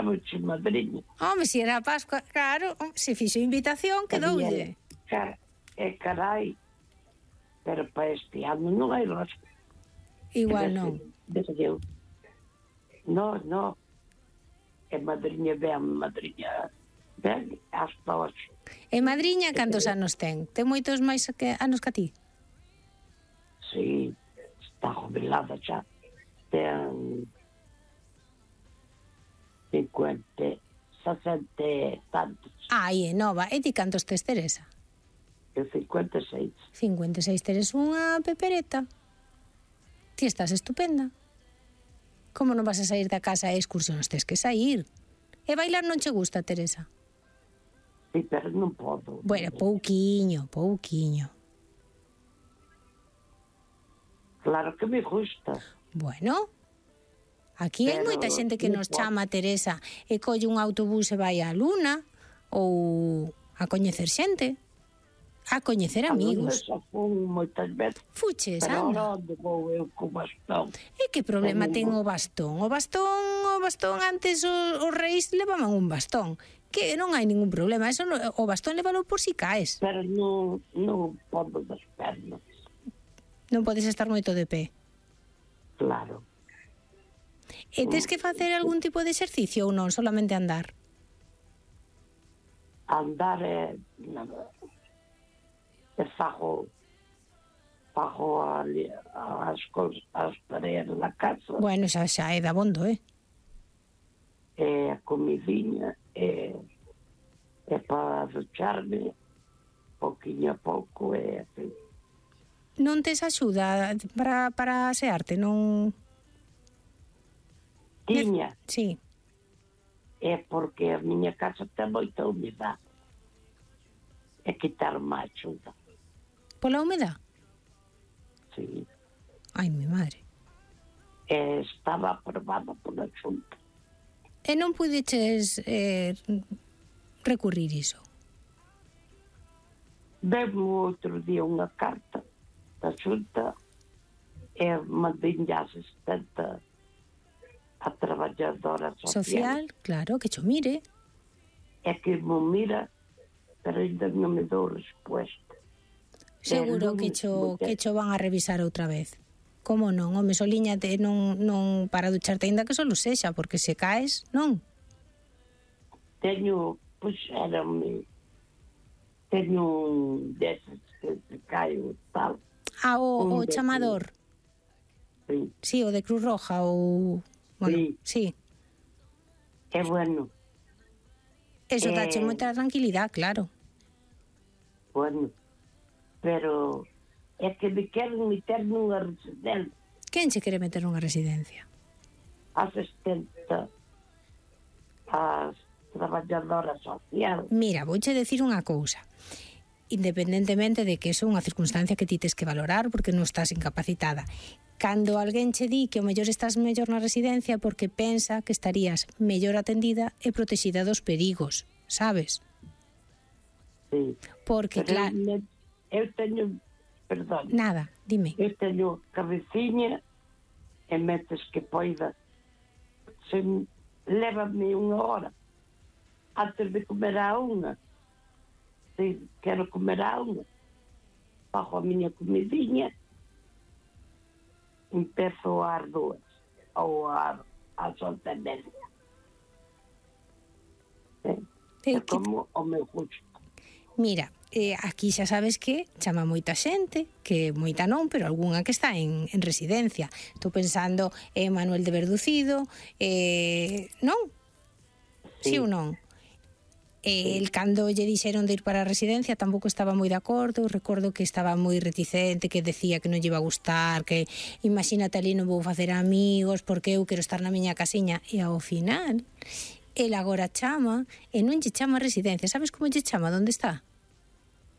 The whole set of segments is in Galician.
chamouche madriña. Home, se era a Pascua, claro, se fixo invitación, quedoulle. Carai, pero para este ano non hai rosca. Igual non. Non. É madriña ben hasta hoxe. E madriña cantos anos ten? Ten moitos máis anos que a ti? Sí, está jubilada xa. Ten 50, 60 e tantos. Ai, é nova. E ti cantos tes, Teresa? Eu 56. 56, teres unha pepereta. Ti estás estupenda. Como non vas a sair da casa a excursións? Tes que sair. E bailar non che gusta, Teresa? Sí, pero non podo. Bueno, pouquiño. Claro que me gusta. Bueno, aquí hai moita xente que nos chama, Teresa, e colle un autobús e vai á Luna, ou a coñecer xente, a coñecer amigos. A Luna fun moitas veces. Fuches, pero anda. onde vou eu co bastón? E que problema ten o bastón? O bastón antes os reis levaban un bastón. Que non hai ningún problema. Eso o bastón levalo por si caes. Pero non podo das pernas. Non podes estar moito de pé. Claro. E tes que facer algún tipo de exercicio ou non? Solamente andar? Andar é fago as tareas da casa. Bueno, xa é dabondo, A comidinha é para ducharme pouquinho a pouco e así. Non tes axuda para asearte, non? Tiña. Sí. É porque a miña casa ten moita humedade. É quitar má axuda. Pola humedade? Sí. Ai, mi madre. Estaba aprobada pola Xunta. E non pudeches recurrir iso? Demo outro día unha carta da Xunta e mandei a asistente a traballadora social. Claro, que cho mire. É que me mira, pero ainda non me dou resposta. Seguro que cho van a revisar outra vez. Como non? Home, solíñate non para ducharte, ainda que solo sexa, porque se caes, non? Teño un deses que se cae o tal. Ah, o chamador. Sí. Sí, o de Cruz Roja, ou... Bueno, sí. É bueno. Eso dache moita tranquilidade, claro. Bueno, pero é que me queren meter nunha residencia. Quen che quere meter nunha residencia? Asistente as traballadora social. Mira, vouche decir unha cousa. Independentemente de que eso é unha circunstancia que ti tes que valorar porque non estás incapacitada. Cando alguén che di que o mellor estás mellor na residencia porque pensa que estarías mellor atendida e protexida dos perigos, sabes? Sí. Porque, claro... Eu teño... Perdón. Nada, dime. Eu teño cabeciña e metes que poida. Lévame unha hora antes de comer a unha. Se quero comer a unha, fago a miña comidinha, empezo ás 2 ou ás 11:30. É como o meu gusto. Mira, aquí xa sabes que chama moita xente, que moita non, pero algunha que está en residencia. Estou pensando en Manuel de Verducido, non? Sí ou non? El cando lle dixeron de ir para a residencia tampouco estaba moi de acordo. Recordo que estaba moi reticente, que decía que non lle iba a gustar, que imagínate ali non vou facer amigos porque eu quero estar na miña casiña. E ao final, el agora chama e non lle chama residencia. Sabes como lle chama? Donde está?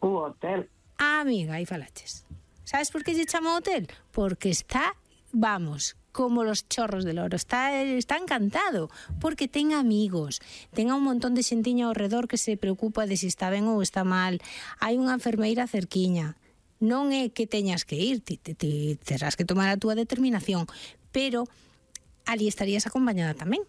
O hotel. Ah, amiga, aí falaches. Sabes por que lle chama hotel? Porque está, vamos, como los chorros del oro. Está encantado, porque ten amigos, ten un montón de xentiña ao redor que se preocupa de se está ben ou está mal. Hai unha enfermeira cerquiña. Non é que teñas que ir, ti terás que tomar a túa determinación, pero ali estarías acompañada tamén.